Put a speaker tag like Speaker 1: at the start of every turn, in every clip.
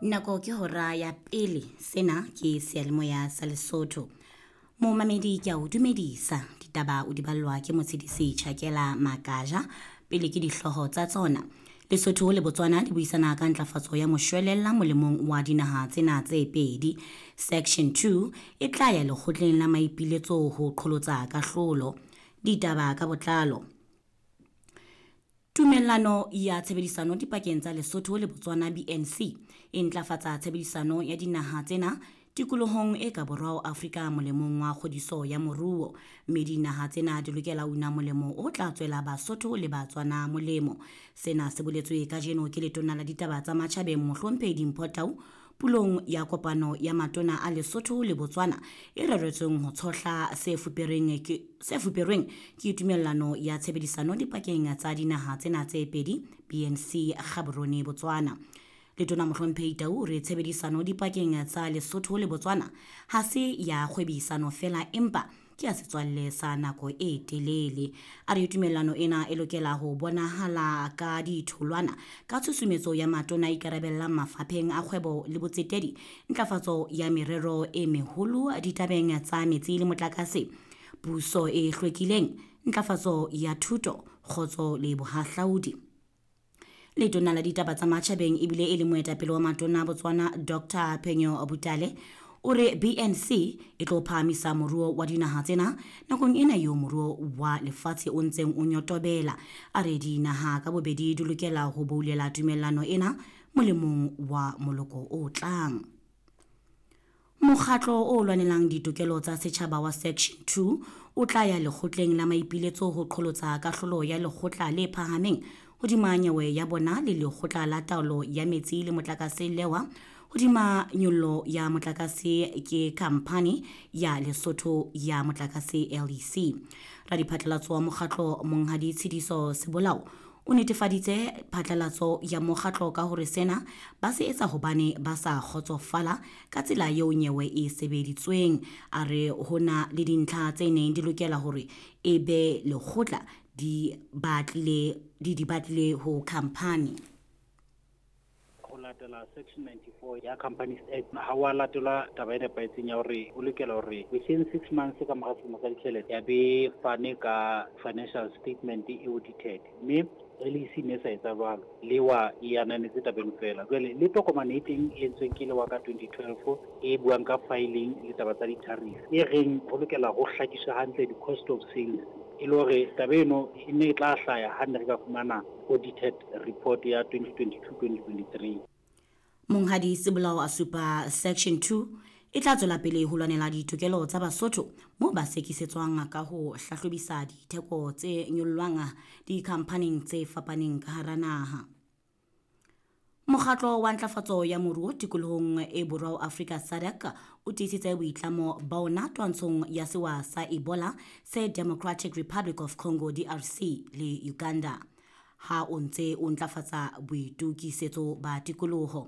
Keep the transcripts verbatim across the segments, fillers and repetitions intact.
Speaker 1: Nako ke hora ya pele. Sena ke seyalemoya sa Lesotho. Momamedi, ke a o dumedisa. Ditaba o di ballwa ke Motshedisi Tjhakela Makaja. Pele ke dihlooho tsa tsona. Lesotho le Botswana di buisana ka ntlafatso ya moshwelella molemong wa dinaha tsena tse pedi. Section two e tla ya lekgotleng la maipiletso ho qholotsa kahlolo. Ditaba ka botlalo. Tumellano ya tshebedisano dipakeng tsa Lesotho le Botswana B N C e ntlafatsa tshebedisano ya dinaha tsena tikolohong e ka borwa ho Afrika molemong wa kgodiso ya moruo, mme dinaha tsena di lokela ho una molemo o tla tswela Basotho le Batswana molemo. Sena se boletswe kajeno ke letona la ditaba tsa matjhabeng, Mohlomphehi Dimpho Tau, pulong ya kopano ya matona a Lesotho le Botswana e reretsweng ho tshohla se fuperweng ke se fuperweng ke tumellano ya tshebedisano dipakeng tsa dinaha tsena tse pedi B N C Gaborone, Botswana. Letona Mohlomphehi Tau o re tshebedisano dipakeng tsa Lesotho le Botswana ha se ya kgwebisano fela, empa ke ya setswalle sa nako e telele. A re tumellano ena e lokela ho bonahala ka ditholwana ka tshusumetso ya matona a ikarabellang mafapheng a kgwebo le botsetedi, ntlafatso ya merero e meholo ditabeng tsa metsi le motlakase, puso e hlwekileng, ntlafatso ya thuto, kgotso le bohahlaudi. Letona la ditaba tsa matjhabeng ebile e le moetapele wa matona a Botswana, Doctor Phenyo Butale, o re B N C e tlo phahamisa moruo wa dinaha tsena nakong ena eo moruo wa lefatshe o ntseng o nyotobela. A re dinaha ka bobedi di lokela ho boulela tumellano ena molemong wa moloko o tlang. Mokgatlo o lwanelang ditokelo tsa setjhaba wa Section two o tla ya lekgotleng la maipiletso ho qholotsa kahlolo ya lekgotla le phahameng hodima nyewe ya bona le lekgotla la taolo ya metsi le motlakase lewa hodima nyollo ya motlakase ke khamphani ya Lesotho ya motlakase, L E C. Radiphatlalatso wa mokgatlo, Monghadi Tshidiso Sebolao, o netefaditse phatlalatso ya mokgatlo ka hore sena ba se etsa hobane ba sa kgotsofala ka tsela eo nyewe e sebeditsweng. A re ho na le dintlha tse neng di lokela hore e be lekgotla di batlile di di batlile ho khamphani.
Speaker 2: Ho latela section ninety-four ya Companies Act, ha wa latelwa taba e nepahetseng ya hore o lokela hore within six months ka mora selemo sa ditjhelete ya be fane ka financial statement e audited, mme L E C ne sa etsa jwalo. Lewa e ananetse tabeng fela. Jwale le tokomane e teng e entsweng ke lewa ka twenty twelve e buang ka filing le taba tsa di-tariff, e reng ho lokela ho hlakiswa hantle di-cost of sales, e le hore taba eno e ne e tla hlaya ha ne re ka fumana audited report ya twenty twenty-two twenty twenty-three.
Speaker 1: Monghadi Sebolao a supa Section two e tla tswela pele ho lwanela ditokelo tsa Basotho moo ba sekisetswang ka ho hlahlobisa ditheko tse nyollwang dikhamphaneng tse fapaneng ka hara naha. Mokgatlo wa ntlafatso ya moruo tikolohong e borwa ho Afrika, SADC, o tiisitse boitlamo ba ona twantshong ya sewa sa Ebola se Democratic Republic of Congo, D R C, le Uganda ha o ntse o ntlafatsa boitokisetso ba tikoloho.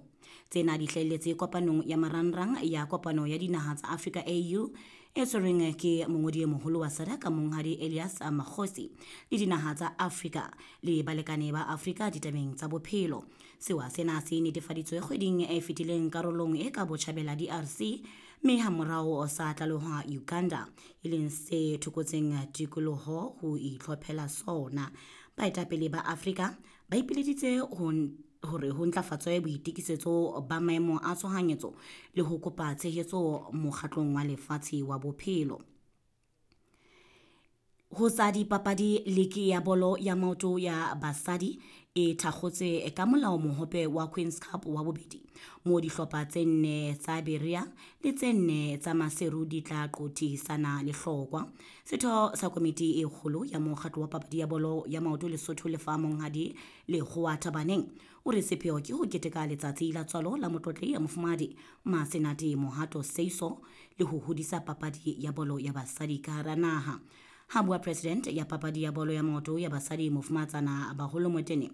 Speaker 1: Tsena di hlahelletse kopanong ya marangrang ya kopano ya dinaha tsa Afrika, A U, e tshwerweng ke mongodi e moholo wa SADC, Monghadi Elias Magosi, le dinaha tsa Afrika le balekane ba Afrika ditabeng tsa bophelo. Sewa sena se netefaditswe kgweding e fetileng karolong e ka botjhabela D R C, mme hamorao sa tlalehwa Uganda, e leng se thokotseng tikoloho ho itlhophela sona. Baetapele ba Afrika ba ipileditse ho hore ho ntlafatswe boitokisetso ba maemo a tshohanyetso le ho kopa tshehetso mokgatlong wa lefatshe wa bophelo. Ho tsa dipapadi, liki ya bolo ya maoto ya basadi e thakgotswe ka molao mohope wa Queens Cup wa bobedi, moo dihlopha tse nne tsa Berea le tse nne tsa Maseru di tla qothisana lehlokwa. Setho sa komiti e kgolo ya mokgatlo wa papadi ya bolo ya maoto Lesotho, Lefa, Monghadi Lekgowa Thabaneng, o re sepheo ke ho keteka letsatsi la tswalo la motlotlehi ya Mofumahadi Masenate Mohato Seiso le ho hodisa papadi ya bolo ya basadi ka hara naha. Ha bua president ya papadi ya bolo ya maoto ya basadi, Mofumahatsana Baholo Motene.